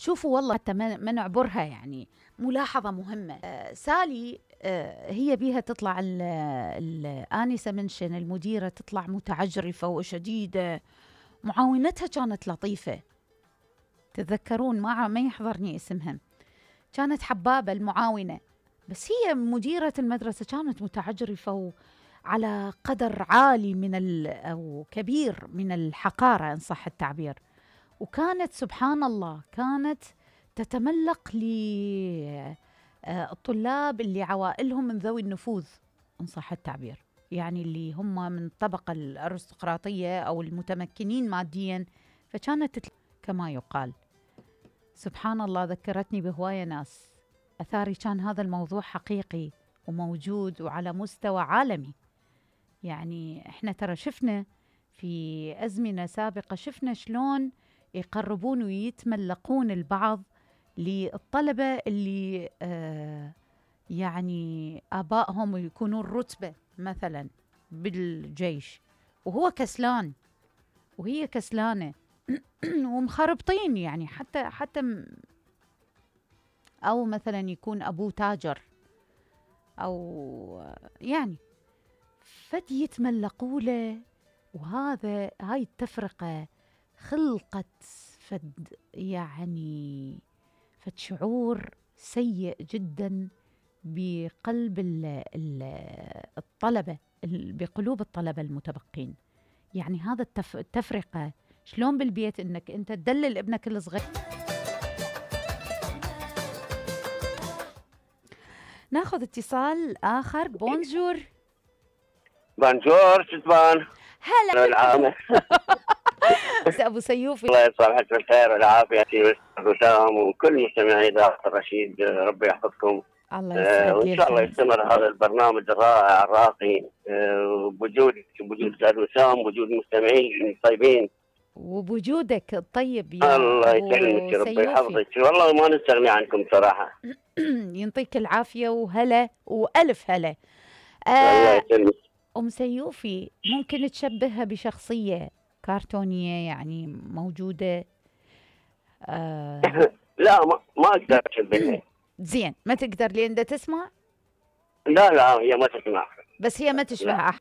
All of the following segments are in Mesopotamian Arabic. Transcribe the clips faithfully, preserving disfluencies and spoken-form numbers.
شوفوا والله حتى ما ما نعبرها، يعني ملاحظة مهمة. آه سالي آه هي بيها تطلع الآنسة منشن المديرة تطلع متعجرفة وشديدة، معاونتها كانت لطيفة. تتذكرون؟ ما ما يحضرني اسمها، كانت حبابة المعاونة، بس هي مديرة المدرسة كانت متعجرفة وعلى قدر عالي من ال أو كبير من الحقارة إن صح التعبير. وكانت سبحان الله كانت تتملق للطلاب اللي عوائلهم من ذوي النفوذ إن صح التعبير، يعني اللي هم من الطبقة الأرستقراطية أو المتمكنين ماديا، فكانت كما يقال. سبحان الله ذكرتني بهواية ناس. أثاري كان هذا الموضوع حقيقي وموجود وعلى مستوى عالمي. يعني إحنا ترى شفنا في أزمنة سابقة، شفنا شلون يقربون ويتملقون البعض للطلبة اللي آه يعني آبائهم يكونون رتبة مثلا بالجيش، وهو كسلان وهي كسلانة ومخربطين، يعني حتى حتى أو مثلا يكون أبوه تاجر أو يعني فد يتملقوا له. وهذا هاي التفرقة خلقت فد يعني فد شعور سيء جدا بقلب الطلبة، بقلوب الطلبة المتبقين. يعني هذا التف... التفرقة شلون بالبيت انك انت تدلل ابنك الصغير. ناخذ اتصال اخر. بونجور. بونجور شتبان. هلا العامة. ابو سيوفي. الله يصبحك بالخير والعافية في وسام وكل مستمعي إذاعة الرشيد، ربي يحفظكم. الله يسعدك. وإن شاء الله يستمر هذا البرنامج الرائع الراقي بوجودك، بوجود أستاذ وسام، بوجود المستمعين الطيبين، وبوجودك الطيب يا الله يسلمك، ربي يحفظك. والله ما نستغني عنكم صراحة. ينطيك العافية وهلا وألف هلا. آه الله يسلمك. أم سيوفي، ممكن تشبهها بشخصية كرتونية يعني موجودة؟ آه لا ما ما أقدر أشبهها. زين ما تقدر لين دا تسمع؟ لا لا هي ما تسمع، بس هي ما تشبه أحد.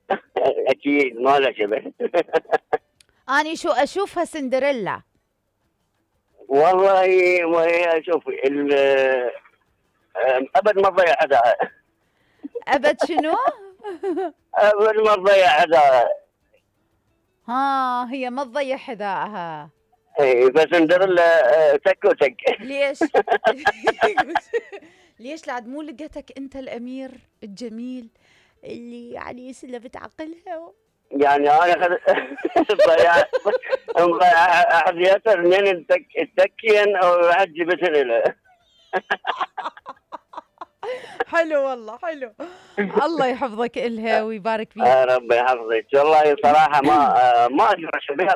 أكيد ما لها شبه. أنا شو أشوفها سندريلا. والله ما هي شوفي أبد ما تضيع أداء. أبد شنو؟ أبد ما تضيع أداء. ها هي ما تضيع حذائها. اي بس سندريلا تك وتك. ليش؟ ليش لعد مو لقيتك انت الامير الجميل اللي يعني سلبت عقلها؟ يعني انا ضيع ضيع احد ياسر من التك التكين او حد جبتني له. حلو والله حلو. الله يحفظك إلها ويبارك فيك. ربي يحفظك. والله صراحه ما ما اقدر اشبهها